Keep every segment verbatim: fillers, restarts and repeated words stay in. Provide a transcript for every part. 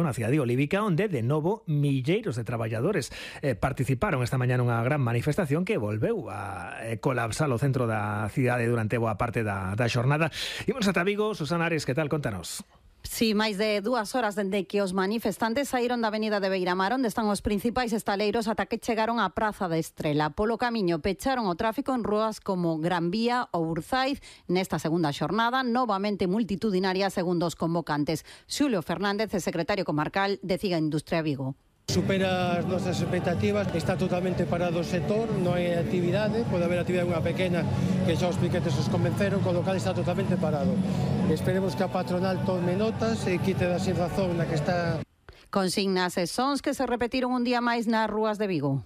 na cidade olívica, onde de novo milleiros de traballadores eh, participaron esta mañá nunha gran manifestación que volveu a eh, colapsar o centro da cidade durante boa parte da, da xornada. Imos ata Vigo. Susana Ares, que tal? Contanos. Sí, máis de dúas horas dende que os manifestantes saíron da avenida de Beiramar, onde están os principais estaleiros, ata que chegaron á Praza da Estrela. Polo camiño pecharon o tráfico en rúas como Gran Vía ou Urzaiz. Nesta segunda xornada, novamente multitudinaria segundo os convocantes. Xulio Fernández, o secretario comarcal de Ciga Industria Vigo. Supera as nosas expectativas, está totalmente parado o sector, non hai actividade, pode haber actividade unha pequena que xa os piquetes os convenceron, con lo cal está totalmente parado. Esperemos que a patronal tome notas e quite da sin razón na que está. Consignas e sons que se repetiron un día máis nas rúas de Vigo.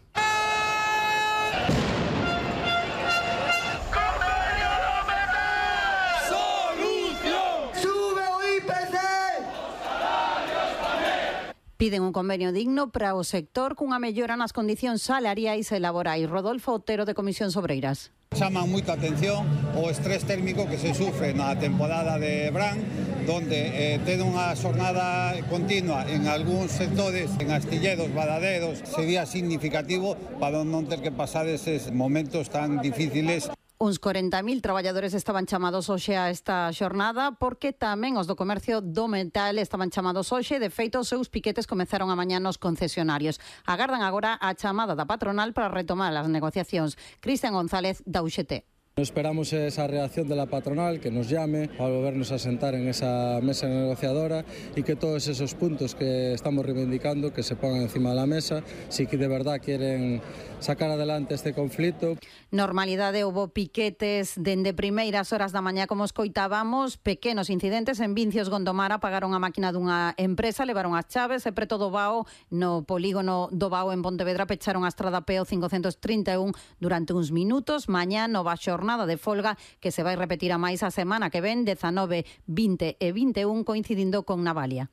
Piden un convenio digno para o sector cunha mellora nas condicións salariais e laborais. Rodolfo Otero, de Comisións Obreiras. Chaman moita atención o estrés térmico que se sufre na temporada de verán, donde eh, ten unha xornada continua en algúns sectores, en astilleros, badaderos, sería significativo para non ter que pasar eses momentos tan difíciles. Uns corenta mil traballadores estaban chamados hoxe a esta xornada, porque tamén os do comercio do metal estaban chamados hoxe. De feito, os seus piquetes comezaron a mañá nos concesionarios. Agardan agora a chamada da patronal para retomar as negociacións. Cristian González, da U X T. Esperamos esa reacción de la patronal, que nos llame para volvernos a sentar en esa mesa negociadora y que todos esos puntos que estamos reivindicando que se pongan encima de la mesa, si que de verdad quieren sacar adelante este conflito. Normalidade, houbo piquetes dende primeiras horas da mañá, como escoitábamos, pequenos incidentes en Vincios, Gondomar, apagaron a máquina dunha empresa, levaron as chaves e preto do Bao, no polígono do Bao en Pontevedra, pecharon a estrada P O cincocentos trinta e un durante uns minutos. Mañá, nova xornada de folga que se vai repetir a máis a semana que ven, dezanove, vinte e vinte e un, coincidindo con Navalia.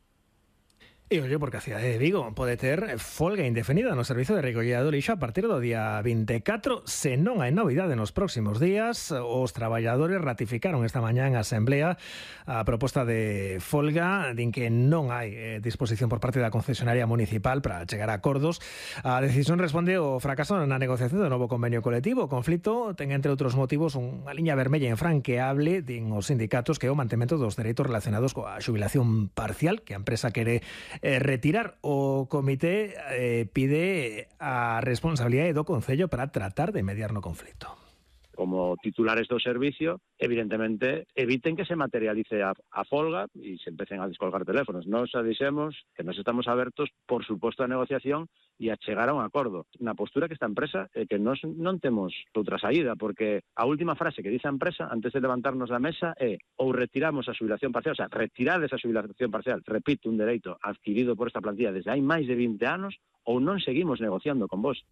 E ollo, porque a cidade de Vigo pode ter folga indefinida no servizo de recollida do lixo a partir do día vinte e catro. Se non hai novidade nos próximos días, os traballadores ratificaron esta mañá en asamblea a proposta de folga, din que non hai eh, disposición por parte da concesionaria municipal para chegar a acordos. A decisión responde ao fracaso na negociación do novo convenio colectivo. O conflito ten, entre outros motivos, unha liña vermella infranqueable, din os sindicatos, que é o mantemento dos dereitos relacionados coa xubilación parcial, que a empresa quere Eh, retirar. O comité eh, pide a responsabilidade do Concello para tratar de mediar no conflito. Como titulares do servicio, evidentemente, eviten que se materialice a, a folga e se empecen a descolgar teléfonos. Nos dixemos que nos estamos abertos, por suposto, a negociación e a chegar a un acordo. Na postura que esta empresa é que nos non temos outra saída, porque a última frase que dice a empresa, antes de levantarnos da mesa, é ou retiramos a xubilación parcial, o sea, retirades a xubilación parcial, repito, un dereito adquirido por esta plantilla desde hai máis de vinte anos, ou non seguimos negociando con vos.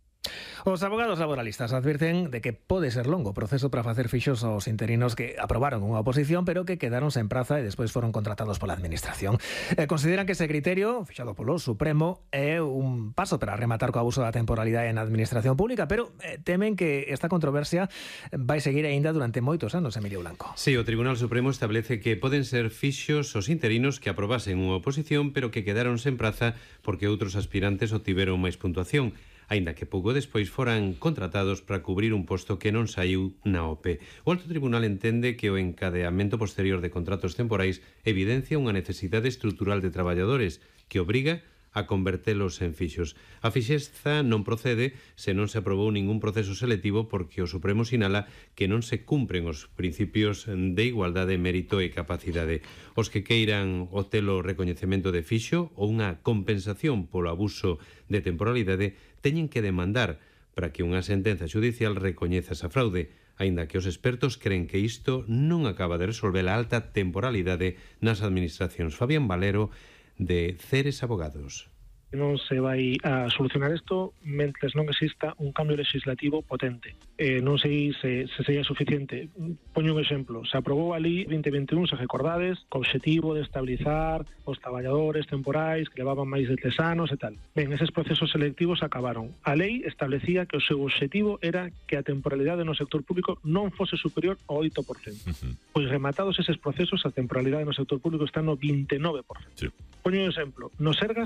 Os abogados laboralistas advirten de que pode ser longo o proceso para facer fixos aos interinos que aprobaron unha oposición, pero que quedaron sen praza e despois foron contratados pola administración. E consideran que ese criterio, fixado polo Supremo, é un paso para rematar co abuso da temporalidade na administración pública, pero eh, temen que esta controversia vai seguir aínda durante moitos anos, Emilio Blanco. Sí, o Tribunal Supremo establece que poden ser fixos os interinos que aprobasen unha oposición, pero que quedaron sen praza porque outros aspirantes obtiveron máis puntuación, aínda que pouco despois foran contratados para cubrir un posto que non saiu na O P. O Alto Tribunal entende que o encadeamento posterior de contratos temporais evidencia unha necesidade estrutural de traballadores que obriga a convertelos en fixos. A fixeza non procede se non se aprobou ningún proceso selectivo, porque o Supremo sinala que non se cumpren os principios de igualdade, mérito e capacidade. Os que queiran obtelo recoñecemento de fixo ou unha compensación polo abuso de temporalidade teñen que demandar para que unha sentenza xudicial recoñeza esa fraude, aínda que os expertos creen que isto non acaba de resolver a alta temporalidade nas administracións. Fabián Valero, de Ceres Abogados. Non se vai a solucionar isto mentres non exista un cambio legislativo potente. Eh, non sei se, se sería suficiente. Poño un exemplo. Se aprobou a Lei vinte veintiún, se recordades, co obxectivo de estabilizar os traballadores temporais que levaban máis de tres anos e tal. Ben, eses procesos selectivos acabaron. A lei establecía que o seu obxectivo era que a temporalidade no sector público non fose superior ao oito por cento. Uh-huh. Pois rematados eses procesos, a temporalidade no sector público está no vinte e nove por cento. Sí. Poño un exemplo. No Sergas